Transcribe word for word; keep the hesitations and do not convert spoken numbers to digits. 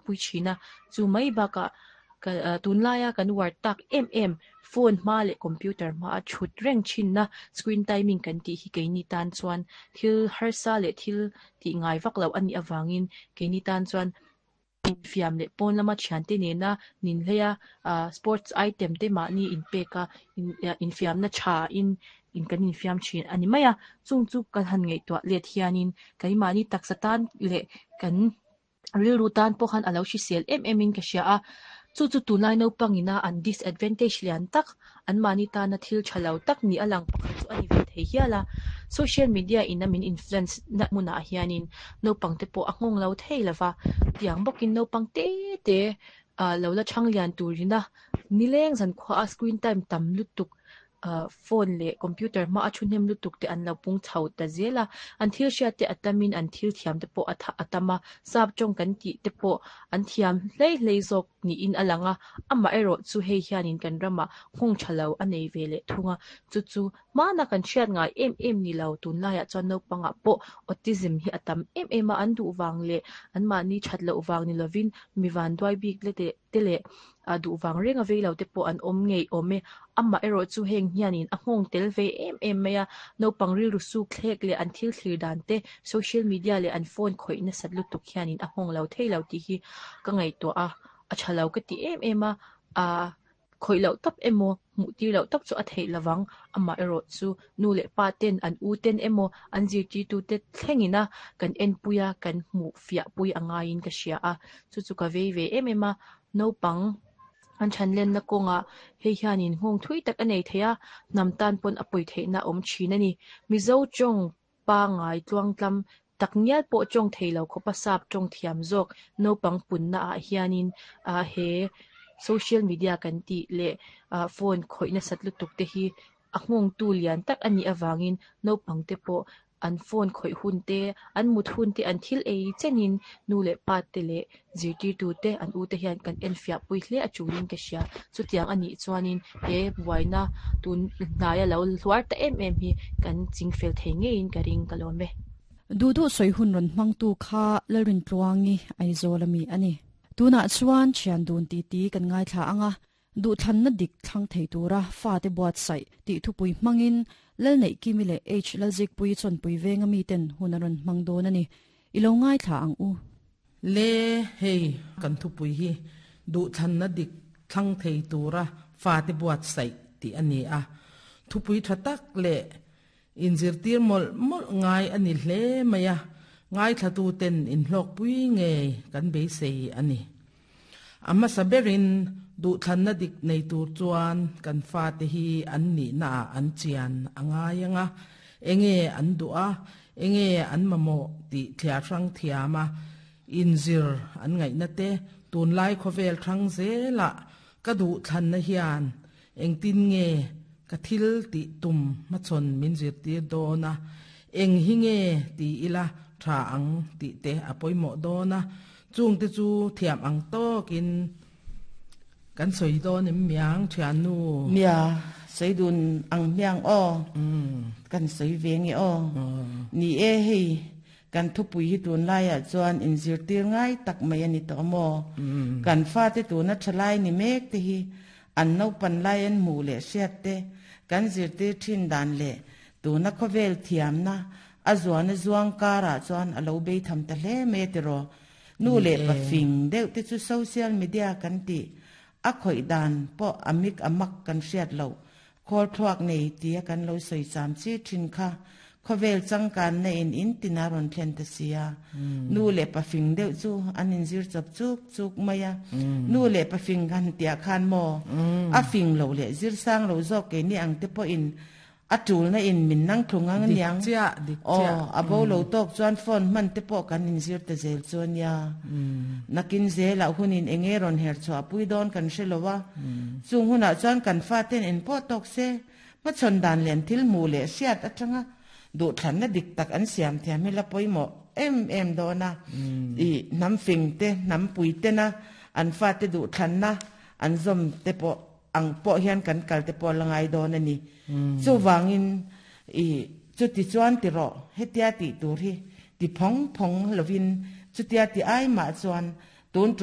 pui thin a chu mai bakah tunlaia kan uar tak em em phone hma leh computer hma a thut reng thin na screen timing kan tih hi keini tan chuan thil harsa leh thil tih ngai vak loh anih avangin keini tan chuan infiam leh pawn lama thiante nena nin hleia ah sports item te mahni inpek a infiamna tha in in kan infiam thin ani mai a chung chu kan han ngaihtuah let hianin keimahni taksa tan leh kan rilru tan pawh khan alo hrisel em em in ka hria a chu chu tunlai naupang ina an disadvantage lian tak an mahni tana thil tha lo tak ni a lang pakhat chu ani ve thei hial a social media ina min influence na hmunah hianin naupang te pawh a nghawng lo thei lova tiang bawkin naupang te te ah lo la thang lian turina nileng zan khua a screen time tam lutuk ah phone leh computer hma a thu hnem lutuk te an lo pung chho ta zel a an thil hriat te a tamin an thil thiam te pawh a tam a sap tawng kan tih te pawh an thiam hlei hlei zawk niin a lang a amah erawh chu hei hianin kan ramah nghawng tha lo a nei ve leh thung a chu chu hmana kan hriat ngai em em ni lo tunlaiah chuan naupangah pawh autism hi a tam em em a an duh vang leh an mahni that loh vang ni lovin mi vanduai bik le te leh a duh vang reng a vei lo te pawh an awm ngei awm e amah erawh chu heng hianin a nghawng tel ve em em mai a naupang rilru suk thlek leh an thil thlir dan te social media leh an phone khawih nasat lutuk hianin a nghawng lo thei lo tih hi ka ngaihtuah a a tha lo ka ti em em a ah khawih loh tawp emaw hmuh tir loh tawp chu a theih lovang amah erawh chu nu leh pa ten an u ten emaw an zirtirtu te thlengin a kan enpui a kan hmuh fiah pui a ngaiin ka hria a chu chu ka vei ve em em a naupang an thanlenna kawngah hei hianin nghawng thui tak a nei thei a hnam tan pawn a pawi theihna a awm thin a ni Mizo tawng pangai tluangtlam tak ngial pawh tawng thei lo khawpa sap tawng thiam zawk naupang punna ah hianin ah he social media kan tih leh ah phone khawih nasat lutuk te hi a nghawng tu lian tak anih avangin naupang te pawh an phone khawih hun te an mut hun te an thil ei chenin nu leh pa te leh zirtirtu te an u te hian kan en fiah pui hle a tulin ka hria chutiang anih chuanin he buaina tun hnaia lo hluar ta em em hi kan chingfel thei ngeiin ka ring ka lawm e du du soi hun ron mang tu kha lalrin tluangi Aizawl ami ani tuna chuan thian dun ti ti kan ngai thla anga du than na dik thlang thei tura fa te buat sai ti thu pui mangin lal nei kimi le h lalzik pui chon pui venga mi ten hunaron mang don ani ilo ngai thla ang u le hei kan thu pui hi du than na dik thlang thei tura fa te buat sai ti ani a thu pui thatak le in zirtir mol mol ngai ani hle maya ngai thla tu ten in hlok pui nge kan be sei ani amma saberin du than na dik nei tur chuan kan fa te hi an ni na an chian anga yanga enge an dua enge an mamo ti thia rang thiama in zir an ngai na te tun lai khovel thang zela ka du than na hian eng tin nge ka thil ti tum ma chon min zir tir do na eng hi nge ti ila tha ang ti te apoimo do na chung te chu thiam ang to kin kan soi do nim miang thian nu nia soi dun ang miang o kan soi ve nge o ni e hei kan thu pui hi tun lai a chuan in zir tir ngai tak mai ani to mo kan fa te tu na thalai ni mek te hi an no pan lai an mu le siat te kan zir tir thin dan le tu na khovel thiam na azuan zuang kara chuan alo be tham ta hle me te ro nu le pa fing deuh te chu social media kan ti a khoi dan po amik amak kan hriat lo khol thuak nei ti kan lo soi cham chi thin kha khovel chang kan na in in tinaron thlen ta sia nu le pa fing deuh chu an in zir chap chuk chuk maya nu le pa fing kan tia khan mo a fing lo le zir sang lo zo ke ni ang te po in atul na in min nang thungang niang chia dik chia o abo lo tok chuan phone man te po kan in zir te zel chuan ya nakin zela hunin engeron her chwa pui don kan hrelowa chung huna chuan kan fa ten in po tok se ma chon dan len thil mu le siat atanga du thlan na dik tak an siam thiam hi la poimo em em do na i nam fing te nam pui te na an fa te du thlan na an zom te po ang po hian kan kal te po langai do na ni chu wangin i chu ti chuan ti ro hetia ti tur hi ti phong phong lovin chu tia ti ai ma chuan tun